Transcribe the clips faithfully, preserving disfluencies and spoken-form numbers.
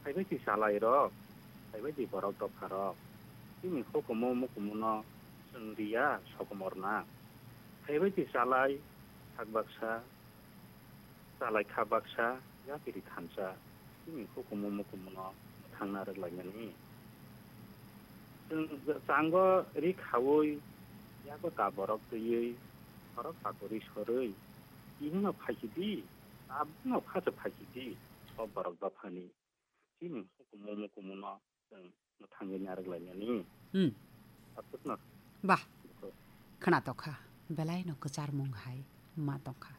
Phaibai di chalairok, phaibai di borok dopharok. Chini hukumu mukumuno chwng riya sokomorna. Phaibai di chalai khak baksa, chalai kha baksa, yapiri thansa. Chini hukumu mukumuno mwthangna rwglaimani. Chwng chango ri khaui, yago ta borok twiwi, borok pakuri sorwi, tinino phaikidi, tabukno khacha phaikidi, o borok dophani. Chini hukumu mukumuno chwng mwthangwi narwk lainani. Hmm. Aswkno. Bah. Khwna tokha, belaino kwcharmung hai ma tongkha.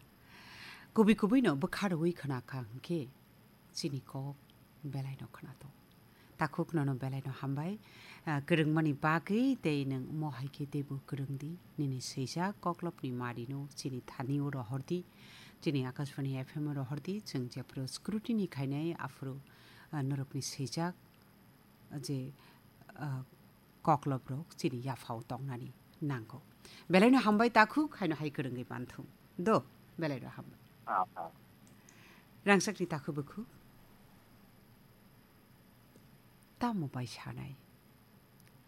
Kubui kubuino bwkha rwui khwna kha hwnkhe chini kok belaino khwna tok. Takhuk nono belaino hambai, ah, kwrwngmani bagwi tei nwng omo hai khe teibo kwrwng di. Nini swijak koklopni marino chini thani o rohor di, chini Akashbani F M o rohor di, chwng jephuru scrutiny khainai aphuru, ah, norokni swijak je, ah, kokloprok chini yaphao tongnani nango. Belaino hambai takhuk, haino hai kwrwngwi manthung. Do, belaino hambai. Ah, ah. Rangchakni takhuk bukhuk. Tamo bai sanai?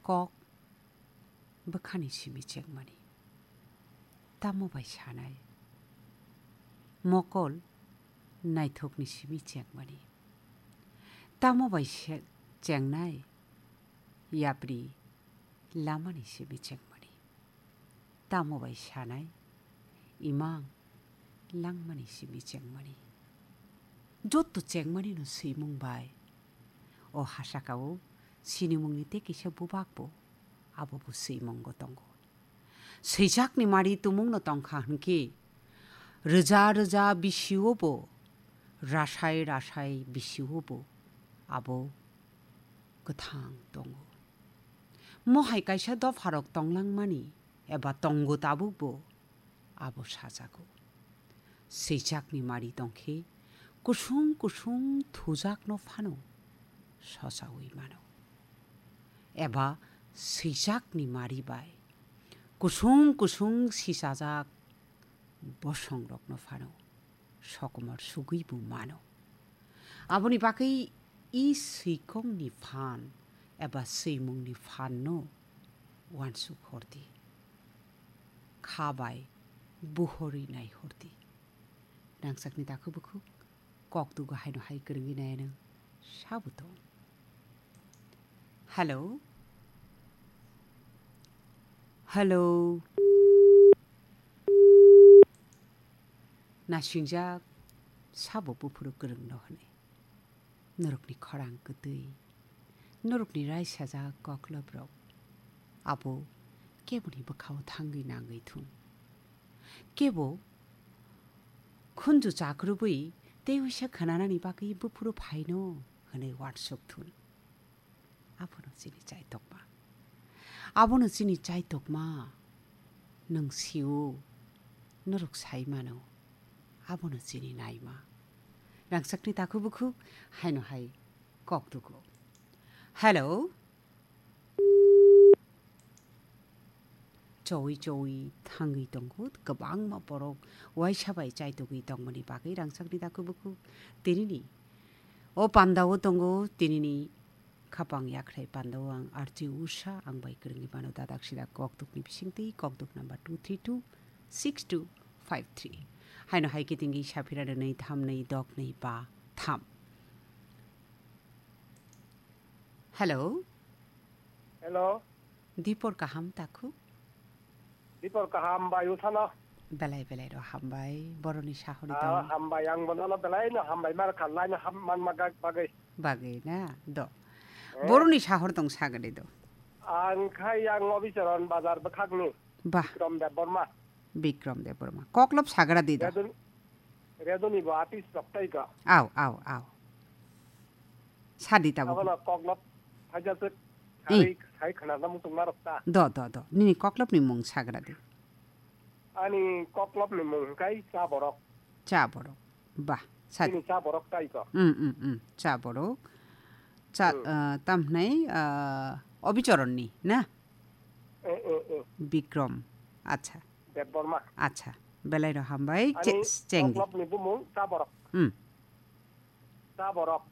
Kok bwkhani simi chengmani. Tamo bai sanai? Mokol naithokni simi chengmani. Tamo bai se-, chengnai? Yapri lamani simi chengmani. Tamo bai sanai? Imang langmani simi chengmani. Jotto chengmani no swimung bai. O hasakao sinimungni tei kisa bubak bo, abo bo swimungo tongo. Swijakni mari tumungno tongkha hwnkhe, rwja rwja bisio bo, rasai rasai bisio bo, abo kwthang tongo. Mohai kaisa dopharok tonglangmani eba tongo tabukbo, abo sajago. Swijakni mari tongkhe kusung kusung thujakno phano sosaui mano. Eba swijakni mari bai kusung kusung sisajak bosongrokno phano sokomor sugwi bo mano. Aboni bagwi i swikongni phan eba swimungni phanno uansuk hordi. Kha bai buhorwi nai hordi. Rangchakni takhuk bukhuk kok tugo haino hai kwrwngwi nai nang sabo tong. Hello? Hello? Nasingjak sabo buphuru kwrwngno hwnwi. Norokni khorang kwtwi, norokni raisajak kokloprok, abo keboni bwkhao thangwi nangwi thung. Kebo khunju chakrubwi tei uisa khwnanani bagwi buphuru phaino hwnwi uansuk thun. Abono chini chaitokma. Abono chini chaitokma. Nwng sio, norok sai mano. Abono chini naima. Rangchakni takhuk bukhuk haino hai kok tugo. Hello? Chowi chowi thangwi tongo, kwbangma borok uaisa bai chaitugwi tongmani bagwi rangchakni takhuk bukhuk tinini o pandao tongo, tinini khapang yakhrai pandao ang R J Usha, ang bai kwrwngwi mano dadak sida kokdukni bisingtwi, kokduk number two three two six two five three. Haino hai khe tingwi saphira rwnwi thamnwi doknwi ba tham. Hello. Hello. Dipor kaham takhuk? Dipor kaham bai usano. Belai belai ro hambai. Boroni sahori Ah, tong. Hambai ang bono belai no hambai mar khalai no ham man magak bagai. Bagai na do. Eh? Boroni sahor tong sagade do. Ang khai ang obicharon bazar bwkhakni. Bah. Bikram Debbarma. Bikram Debbarma. Koklop sagra di do. Redun-, Reduni bo artist rok tai ka. Au, au, au. Sadi tabuk. Abono koklop haja se Hmm. Sai, sai khana na mutung marok ta. Do, do, do. Nini koklop ni mung sagra di. Ani koklop ni mung kai cha borok. Cha borok. Bah, sadi. Ini cha borok tai ko. Hmm, hmm, hmm. Cha borok. Cha, Hmm. eh, tam hnai, eh, Obicharon ni, na? Eh, eh, eh. Bikram. Acha. Debbarma. Acha. Belai ro hambai. Ani che-, cheng di. Koklop ni bumung cha borok. Hmm. Cha borok.